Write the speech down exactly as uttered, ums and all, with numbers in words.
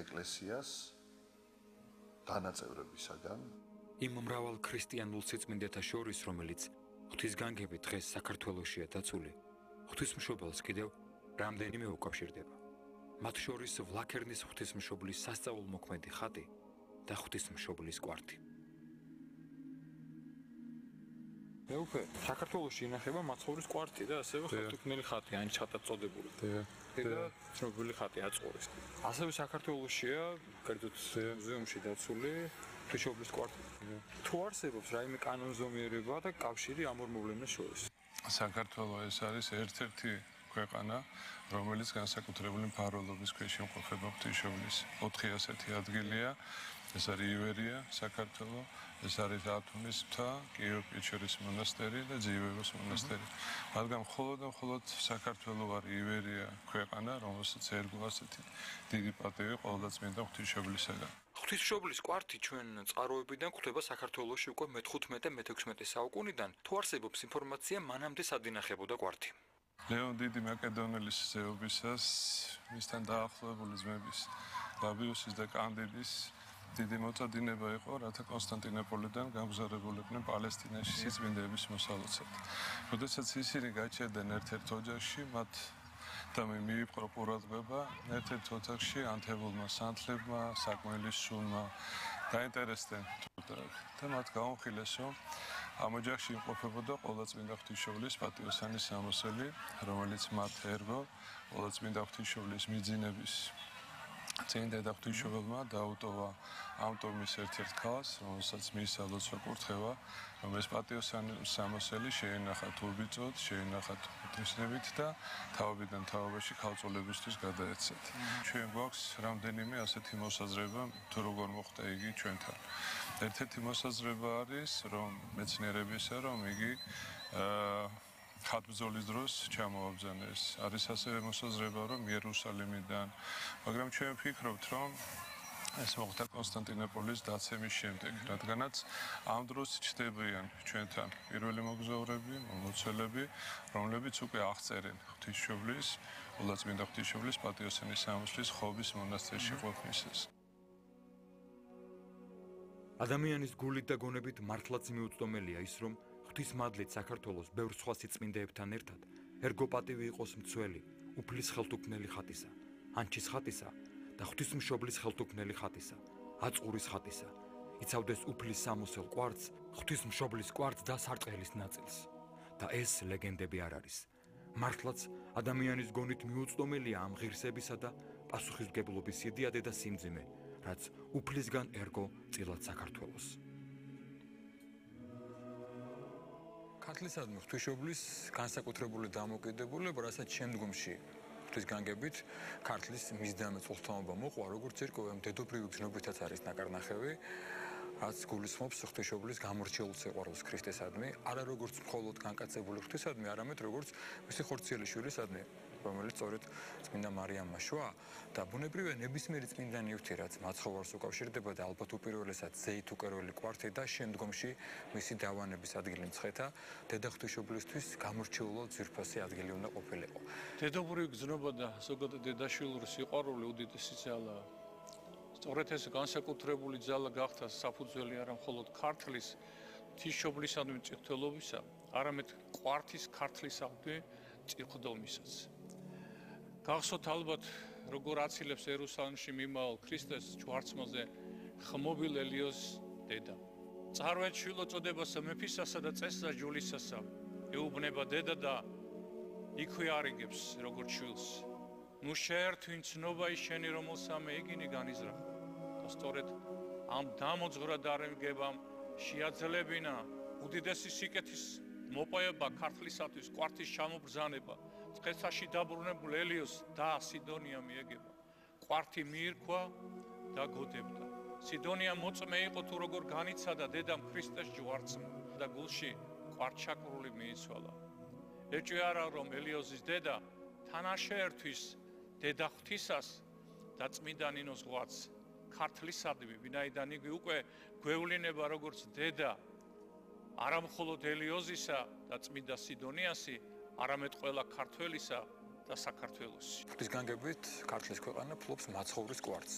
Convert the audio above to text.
ეკლესიას განაწევრებისაგან იმ მრავალ ქრისტიანულ სიწმინდეთა შორის, რომელიც ღვთისგანგებით დღეს საქართველოშია დაცული, ღვთისმშობელს კიდევ რამდენიმე უკავშირდება. მათ შორის ვლაქერნის ღვთისმშობლის სასწაულმოქმედი ხატი და ღვთისმშობლის კვართი. მე უკვე საქართველოში ინახება მაცხოვრის კვართი და ასევე ხელთუქმნელი ხატი, ან ჩატად წოდებული. და ცნობილი ხატი აწყურის. ასევე საქართველოშია კერძოდ მუზეუმში დაცული ღვთისმშობლის კვართი. თუ არსებობს რაიმე კანონზომიერება და კავშირი ამ ორ მოვლენას შორის? საქართველო ეს არის ერთ-ერთი ქვეყანა, რომელიც განსაკუთრებული მფარველობის ქვეშ იმყოფება ღვთისმშობლის. ოთხი ასეთი ადგილია. ეს არის ივერია, საქართველო, ეს არის ათონის მთა, კიევა-პეჩორის მონასტერი და ძიევების მონასტერი. რადგან მხოლოდ და მხოლოდ საქართველო არის ივერია ქვეყანა, რომელსაც ერგო ასეთი დიდი პატივი ყოვლადწმინდა ღვთისმშობლისაგან. ღვთისმშობლის კვართი ჩვენ წყაროებიდან გვხვდება საქართველოში უკვე მეთხუთმეტე და მეთექვსმეტე საუკუნიდან. თუ არსებობს ინფორმაცია, მანამდე სად ინახებოდა კვართი? ლეონ დიდი მაკედონელის ზეობისას, მისთან დაახლოებული ძმების ლაბიუსის და კანდიდის დიდი მოწოდინება იყო, რათა კონსტანტინოპოლიდან გამგზავრებულიყვნენ პალესტინაში სიწმინდეების მოსალოცად. როდესაც ისინი გაჩერდნენ ერთ-ერთ ოჯახში, მათ და მე მიიპყრო ყურადღება ერთ-ერთ ოთახში ანთებულმა სანთლებმა, საკმელის სულმა დაინტერესდნენ და მათ გაუმხილეს, რომ ამ ოჯახში იმყოფებოდა ყოვლადწმინდა ღვთისმშობლის პატიოსანი სამოსელი, რომელიც მათ ერგო ყოვლადწმინდა ღვთისმშობლის მიძინების წინ დედა ღვთისმშობელმა დაუტოვა ამ ტომის ერთ-ერთ ქალს, რომელსაც მისცა ლოცვა კურთხევა, რომ ეს პატიოსანი სამოსელი შეენახა თურბიწოდ, შეენახა ღვთისნებით და თავიდან თავობაში ქალწულებისთვის გადაეცათ. ჩვენ გვაქვს რამდენიმე ასეთი მოსაზრება, თუ როგორ მოხდა იგი ჩვენთან. ერთ-ერთი მოსაზრება არის, რომ მეცნიერებისა, რომ იგი აა ხატბრძოლის დროს ჩამოაბრძანეს. არის ასევე მოსაზრება, რომ იერუსალიმიდან, მაგრამ ჩვენ ვფიქრობთ, რომ ეს მოხდა კონსტანტინოპოლის დაცემის შემდეგ, რადგანაც ამ დროს ჩნდებიან ჩვენთან პირველი მოგზაურები, მომლოცველები, რომლებიც უკვე აღწერენ ღვთისმშობლის, ყოვლადწმინდა ღვთისმშობლის პატიოსანი სამოსლის ხობის მონასტერში ყოფნისას. ადამიანის გულით და გონებით მართლაც მიუწვდომელია ის, რომ ღვთისმადლით საქართველოს ბევრ სხვა სიწმინდეებთან ერთად ერგო პატივი იყოს მცველი, უფლის ხელთუქმნელი ხატისა, ანჩის ხატისა და ღვთისმშობლის ხელთუქმნელი ხატისა, აწყურის ხატისა, იცავდეს უფლის სამოსელ კვართს, ღვთისმშობლის კვართს და სარწყელის ნაწილს. და ეს ლეგენდები არ არის. მართლაც ადამიანის გონით მიუწვდომელია ამ ღირსებისა და პასუხისმგებლობის იდეადე და სიმძიმე, რაც უფლისგან ერგო წილად საქართველოს. ქართლისადმი ღვთისმშობლის განსაკუთრებული დამოკიდებულება, რასაც შემდგომში ღვთისგანგებით ქართლის მისდამე წულთამობა მოყვა, როგორც ირკვევენ დედოფლივი გზნობითაც არის ნაკარნახევი, რაც გულისხმობს ღვთისმშობლის გამორჩეულ სიყვარულს ქრისტესადმი, არა როგორც მხოლოდ განკაცებული ღვთისადმი, არამედ როგორც მისი ხორციელი შვილისადმი, რომელიც სწორედ წმინდა მარიამმა შვა და ბუნებრივია ნებისმიერი წმინდანი ღვთი, რაც მაცხოვარს უკავშირდება და ალბათ უპირველესად ზეით უკერველი კვართი და შემდგომში მისი დავანების ადგილი მცხეთა, დედა ღვთისმშობლისთვის გამორჩეულად ძვირფასი ადგილი უნდა ყოფილიყო. დედოფლური გზნობა და ზოგადად დედაშვილური სიყვარული უდიდესი ძალაა. სწორედ ეს განსაკუთრებული ძალა გახდა საფუძველი არა მხოლოდ ქართლის ღვთისმშობლისადმი წითელობისა, არამედ კვართის ქართლისადმი წიხვდომისაც. გახსოვთ ალბათ, როგორ აცილებს იერუსალიმში მიმავალ ქრისტეს ჯვარცმაზე ხმობილ ელიოს დედა. წარვეთ შვილო წოდებასა მეფისასა და წესსა ჯულისასა, ეუბნება დედა და იქვე არიგებს როგორც შვილს. ნუ შეერთვინ ცნობა ის შენი, რომელსა მე იგინი განიზრახა. და სწორედ ამ დამოძღვრად არემგებამ შეაძლებინა უდიდესი სიკეთის მოპოვება ქართლისათვის, კვართის ჩამობრძანება, წყეცაში დაბრუნებულ ელიოს და სიდონია მიეგება. კვართი მიირქვა და გოდებდა. სიდონია მოწმე იყო თუ როგორ განიცადა დედამ ქრისტეს ჯვარცმა და გულში კვართშაკრული მიიცვალა. ეჭვი არა რომ ელიოზის დედა თან არ შეერთვის დედა ღვთისას და წმინდა ნინოს ღვაწ ქართლისადმი, ვინაიდან იგი უკვე გვევლინება როგორც დედა არა მხოლოდ ელიოზისა და წმინდა სიდონიასი, არამედ ყველა ქართველისა და საქართველოსი. ღვთისგანგებით ქართლის ქვეყანა ფლობს მაცხოვრის კვართს.